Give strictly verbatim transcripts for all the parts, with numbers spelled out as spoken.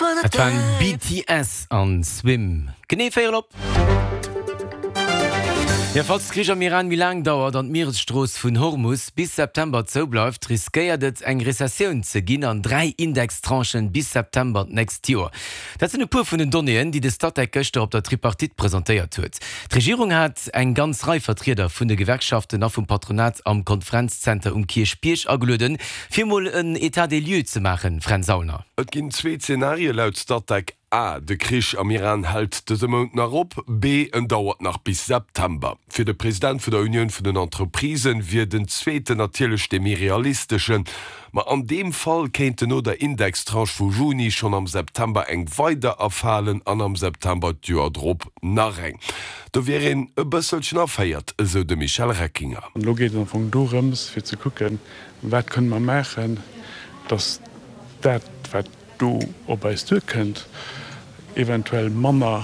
Et waren BTS an Swim. Genee véierel op. Jo, falls de Krich am Iran méi laang dauert an d'Mieresstrooss vun Hormus bis September zou bleift, riskéiert et eng Rezessioun ze ginn an dräi Indextranchen bis September d'nächst Joer. Dat sinn e puer vun den Donnéeën, déi de Statec gëschter op der Tripartite presentéiert huet. D'Regierung hat eng ganz Rei Vertrieder vun de Gewerkschaften a vum Patronat am Konferenzzenter um Kierchbierg agelueden, fir mol en État des lieux ze maachen. Fränz Aulner. Et ginn zwee Zenarie laut Statec, A, De Krich am Iran hält dëse Mount nach op, B, En dauert nach bis September. Fir de President vun der Unioun vun den Entreprisen wier den zweeten natierlech dee méi realisteschen. Ma an deem Fall kéinten no der Indextranche vu Juni schonn am September eng weider erfalen an am September d'Joer drop nach eng. Do wier een e bësselchen erféiert, esou de Michel Reckinger. An elo geet et am Fong dorëms, fir ze kucken, wat kënne mer maachen, datt dat, wat do op eis duerkënnt, eventuell manner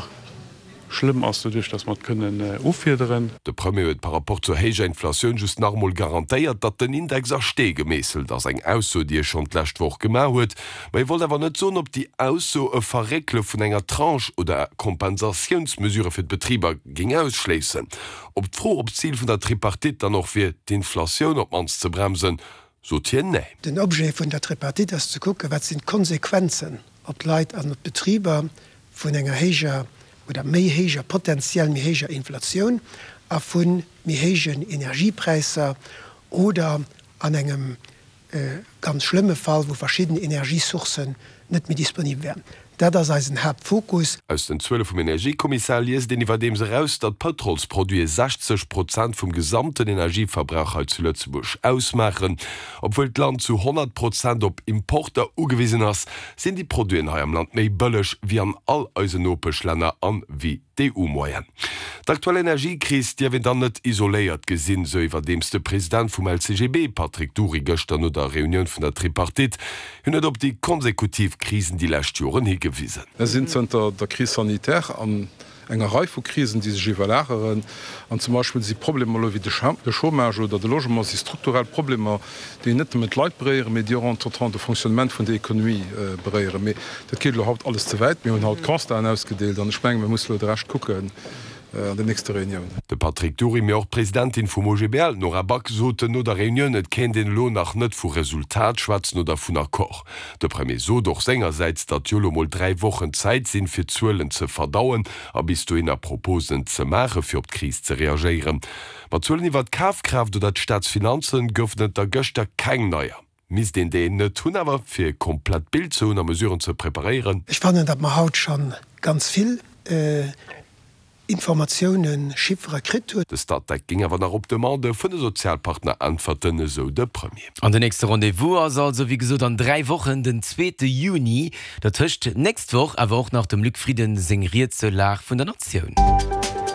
schlëmm ass, doduerch datt mer et kënnen offiederen. De Premier huet par rapport zur héijer Inflatioun just nach emol garantéiert, datt den Index a Stee gemeesselt ass, eng Ausso, déi e schonn d'lescht Woch gemaach huet. Ma hie wollt awer net soen, ob déi Ausso e Verréckele vun enger Tranche oder Kompensatiounsmesurë fir d'Betriber géing ausschléissen. Op d'Fro, ob d'Zil vun der Tripartite dann och wier, d'Inflatioun op d'mannst ze bremsen, sot hien Nee. Den Objet vun der Tripartite ass ze kucken, wat sinn d'Konsequenzen op d'Leit an op d'Betriber vun enger héijer oder méi héijer, potenziell méi héijer Inflatioun a vu méi héijen Energiepräisser oder an engem ganz schlëmme Fall, wou verschidden Energiesourcen net méi disponibel wären. Dat ass eisen Haaptfokus. Aus den Zuele vum Energiekommissar liest een iwwerdeems eraus, datt d'Pëtrolsproduite sechzeg Prozent vum gesamten Energieverbrauch hei zu Lëtzebuerg ausmaachen. Obwuel d'Land zu honnert Prozent op Importer ugewisen ass, sinn déi Produiten hei am Land méi bëlleg wéi an all eisen Nopeschlänner an wéi d'E U-Moyenne. D'aktuell Energiekris dierf een dann net isoléiert gesinn, sou iwwerdeems de President vum L C G B, Patrick Dury, gëschter no der Reunioun vun der Tripartite. Hien huet op déi konsekutiv Krisen déi lescht Joren higewisen. Mir sinn zënter der Crise sanitaire an enger Rei vu Krisen, déi sech iwwerlageren. An zum Beispill si Problemer elo wéi de Chômage oder de Logement si strukturell Problemer, déi net nëmmen d'Leit beréieren, mee déi och entretemps de Fonctionnement vun der Économie beréieren. Mee dat geet elo haut alles ze wäit. Mir hunn haut Constaten ausgedeelt an ech menge mir musse elo de Rescht kucken an den nächste Reuniounen. De Patrick Dury, mee och d'Presidentin vum O G B L, d'Nora Back, soten no der Reunioun, et kéint een elo nach net vu Resultat schwätzen oder vun Accord. De Premier sot och sengersäits, datt jo elo mol dräi Wochen Zäit sinn, fir d'Zuelen ze verdauen a bis dohinner Proposen ze maachen, fir op d'Kris ze reagéieren. Ma Zuelen iwwer d'Kafkraaft oder d'Staatsfinanzen goufen et der gëschter keng neier. Misst een déi net hunn, awer fir e komplett Bild ze hunn a Mesuren ze preparéieren? Ech fannen, datt mer haut scho ganz vill Informatiounen, Chiffere kritt hunn. De Statec géing awer nach op Demande vun de Sozialpartner äntwerten, esou de Premier. An den nächste Rendez-vous ass also wéi gesot an dräi Wochen, den zweete Juni. Dertëscht d'nächst Woch awer och nach dem Luc Frieden seng Ried zur Lag vun der Natioun.